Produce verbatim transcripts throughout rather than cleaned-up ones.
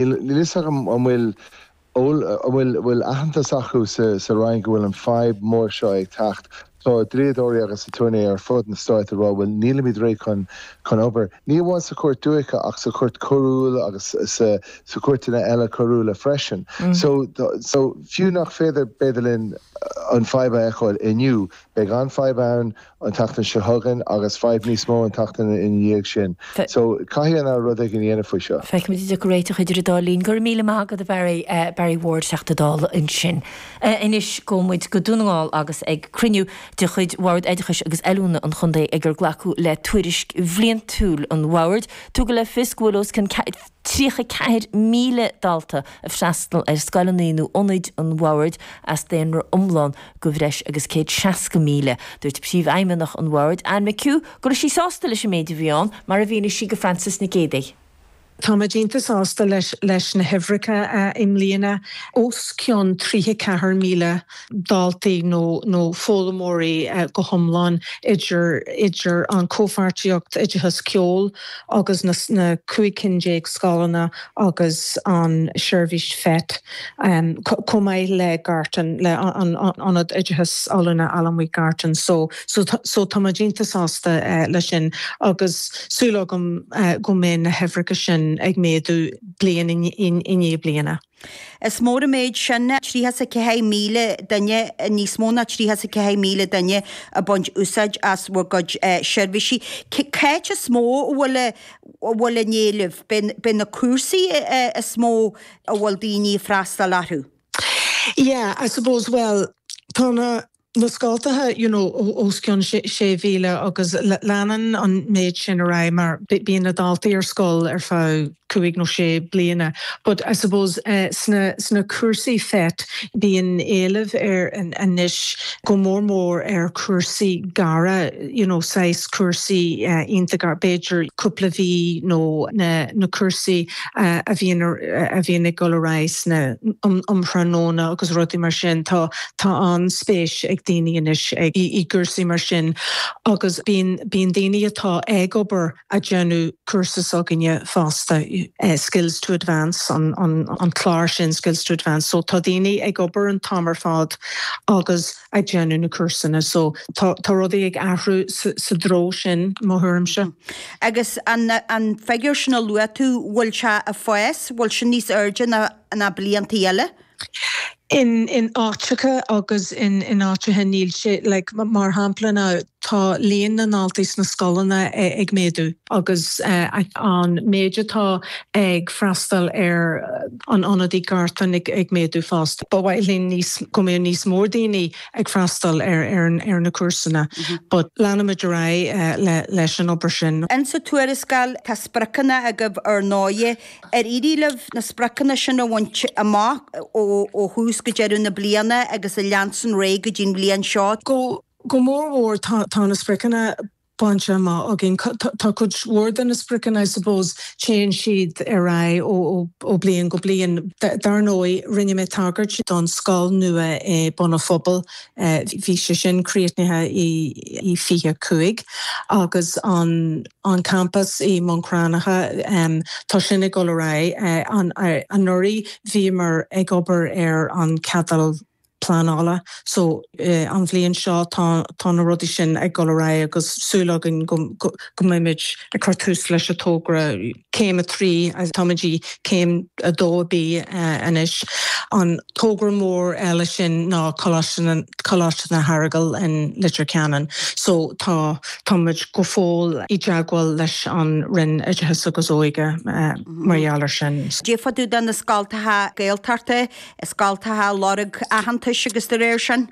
Níl fhios agam an bhfuil an bhfuil bhfuil aitheantas acu sa sa Roinn go bhfuil an fadhb mór seo ag teacht. Tá dlíodóirí agus aturnae ar fud na stáit ag rá bhfuil nílimid réidh chun chun obair. Ní amháin sa chúirt dúiche ach sa chúirt choiriúil agus sa sa chúirteanna eile coiriúla freisin. Mm. So so fiú nach féidir b'fhéidir linn an fadhb a fheiceáil inniu, beidh an fadhb ann an tseachtain seo chugainn agus fadhb níos mó an tseachtain ina dhiaidh sin. So caithfidh an rud éigin a dhéanamh faoi seo. Feicfimid an dtiocfaidh réiteach idir an dá linn. Go raibh míle maith agat a Barry uh, Barry Ward Teachta Dála ansin. Uh, Anois gabhfaidh muid go Dún na nGall agus ag cruinniú de chuid Bhord Oideachais agus Oiliúna an Chontae ag ar glacadh le tuairisc bhliantúil an Bhoird, tugadh le fios go bhfuil os cionn tríocha ceathair míle dalta ag freastal ar scoileanna nó ionaid an Bhoird as daonra iomlán de bhreis agus céad seasca míle. Dúirt príomhfheidhmeannach an Bhoird Anne McHugh go raibh sí sásta leis an méid a bhí ann mar a mhínigh sí do Francis Nic Géadaigh. Tá muid iontach sásta leis leis na huimhreacha uh, i mbliana os cionn tríocha ceathair míle daltaí nó nó foghlaimeoirí uh, go hiomlán idir idir an comhpháirtíocht oideachas ceoil agus na, na cúig cinn déag scoileanna agus an seirbhís FET um, chomh maith le Gartan le an ionad oideachas oiliúna Allamuigh Gartan so so so tá muid iontach sásta uh, leis sin agus súil agam uh, go mbeidh na huimhreacha sin ag méadú bliain i ndiaidh bliana. Is mór an méid sin tríocha a ceathair míle duine níos mó ná tríocha a ceathair míle duine ag baint úsáid as bhur gcuid seirbhísí. Cé is mó a bhfuil a bhfuil an éileamh b'in na cúrsaí is mó a bhfuil daoine freastal orthu. Yeah, I suppose well tá na na scoltacha you know os cionn sé mhíle agus leanann an méid sin ar aghaidh mar bíonn na daltaí ar scoil ar feadh cúig nó sé bliana. But I suppose uh, sna, sna cúrsaí FET bíonn éileamh ar an anois go mór mór ar cúrsaí gearra you know, sais cúrsaí uh, iontach b'fhéidir cúpla mí nó na, na cúrsaí uh, a bhíonn a bhíonn ag dul ar aghaidh sna um, um thráthnóna agus rudaí mar sin tá tá an-spéis ag daoine anois ag i, i gcúrsaí mar sin agus bíonn bíonn daoine atá ag obair ag déanamh cúrsa s'againne fosta uh, skills to advance an, an, an clár sin skills to advance so tá daoine ag obair an t-am ar fad agus ag déanamh na cúrsaí so tá tá rudaí ag athrú sa, sa treo sin mo thuairimse. Agus an, an figiúr sin a luaigh tú bhfuil sé ag fás bhfuil sin níos airde ná, ná blianta eile? In in áiteacha agus in in áiteacha níl sé like, mar shampla ná tá líon na ndaltaí sna scoileanna ag méadú agus uh, an méid atá ag freastal ar an ionad i Gartan ag, ag méadú fosta. Ba mhaith linn níos go mbeadh níos mó daoine ag freastal ar ar, ar na cúrsaí, mm -hmm. but leanfaimid ar aghaidh uh, le, leis an obair sin. In sa tuarascáil tá spriocanna agaibh ar ndóigh ar éirigh libh na spriocanna sin a bhaint amach ó, ó thús go deireadh na bliana agus a leansan ré go dtí'n bhliain seo. Go go mór mhór tá, tá na spriocanna bainte amach againn tá cuid mhór de na spriocanna I suppose téann siad ar aghaidh ó ó bliain go bliain dar ndóigh rinne mé tagairt don scoil nua é Bun an Phobail bhí sé sin críochnaithe i i fiche cúig agus an an campas i mBun Cranncha um, tá sin ag dul ar aghaidh an anuraidh bhíomar ag obair ar an ceadal pleanála so uh, an bhliain seo tá tá na rudaí sin ag dul ar aghaidh agus súil againn go, go, go mbeimid ag cur tús leis an togra céim a trí táimid i céim a dó B uh, anois. An togra mór eile sin ná Coláiste na hEaragail in Leitir Ceanainn. So tá táimid go fóill i dteagmháil leis an Roinn Oideachais agus Óige uh, mar gheall air sin. Cad é faoi na scoltacha Gaeltachta, scoltacha lorg aitheantais agus de réir sin?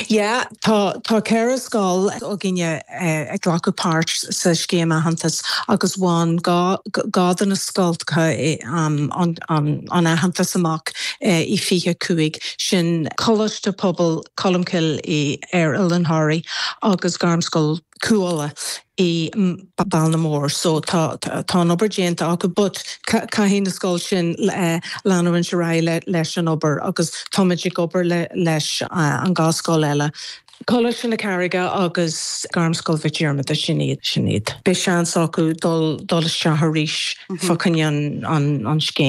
Yeah, tá tá ceithre scoil againne eh, ag glacadh páirt sa scéim aitheantais agus bhain dhá dhá de na scoltacha um, an, an, an aitheantas amach eh, i fiche cúig sin Coláiste Pobail Colmcille i ar Oileán Thoraí agus Gairmscoil Cuala i Ballinamore so tá tá an obair déanta acu but caithfidh na scoil sin leanúint ar aghaidh leis an obair agus táimid ag obair le leis an dhá scoil eile. Coláiste na Carraige agus Gairmscoil Mhic Diarmada sin iad sin iad. Beidh seans acu dul dul isteach arís fá choinne an an an scéim.